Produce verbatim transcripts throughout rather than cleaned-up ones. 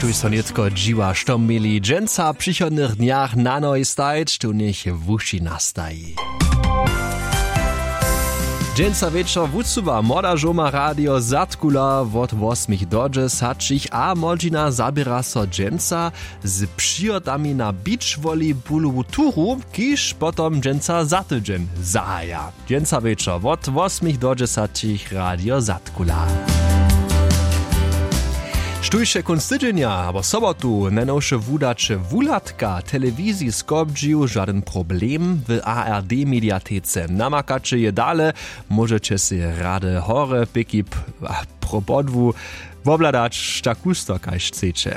Tuž so nětko dźiwa, što měli dźensa w přichodnych dnjach na nohi stajć, tu njech wuši nastaji. Dźensa wječor wusuwa młoda žołma radio zadkula wot wosmich do dźesaćich a młodźina zaběra so dźensa z přihotami na beach volleyballowu turu, kiž potom dźensa za tydźeń zahaja. Dźensa wječor wot wosmich do dźesaćich radio zadkula. Štóž je kónc tydźenja abo sobotu najnowše wudaće wuhladka telewiziji skopdźił žadyn problem w ard mediatece namakaće je dale. Móžeće sej rady hore pěki pro podłu wobhladać tak husto kaž chceće.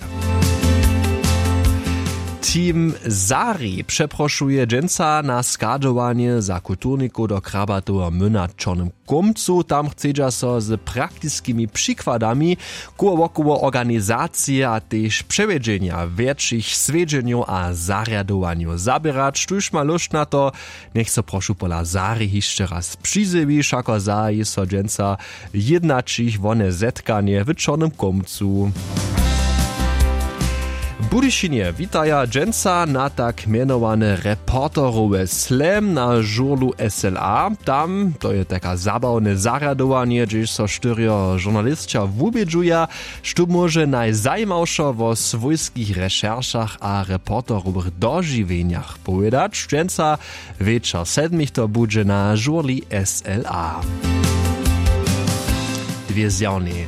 Team Sari přeprošuje dźensa na schadźowanje za kulturnikow do krabatoweho myna w čornym kómcu. Tam chcedźa so z praktiskimi přikładami koło wokoło organizacije a tež přewjedźenja wjetšich swjedźenjow a zarjadowanjow zaběrać, štóž ma lóšt na to, njech so prošu pola Sari hišće raz přizjewi. Wšako zahaji so dźensa jědnaćich wone zetkanje w čornym kómcu. W budyšinje witaja dźensa na tak mjenowane reporterowe slam na žurlu sla. Tam to je taka zabawne zarjadowanje, hdźež so štyrjo žurnalisća wubědźuja, što móže najzajimawšo wo swójskich rešeršach a reporterowych dožiwjenjach powědać. Dźensa wječor sedmich to budźe na žurli sla. Dwě zjawnej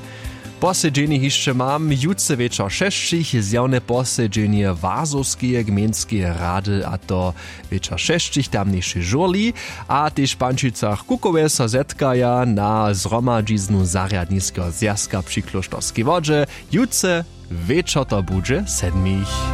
posedźenje hišće mam. Jutře wječor šesćich zjawne posedźenje wazowskeje gmejnskeje rady, a to wječor šesćich w tamnišej žurli. A tež w pančicach kukowe so zetkaja na zhromadźiznu zarjadniskeho zwjazka při klóšterskej wodźe. Jutře wječor to budźe sedmich.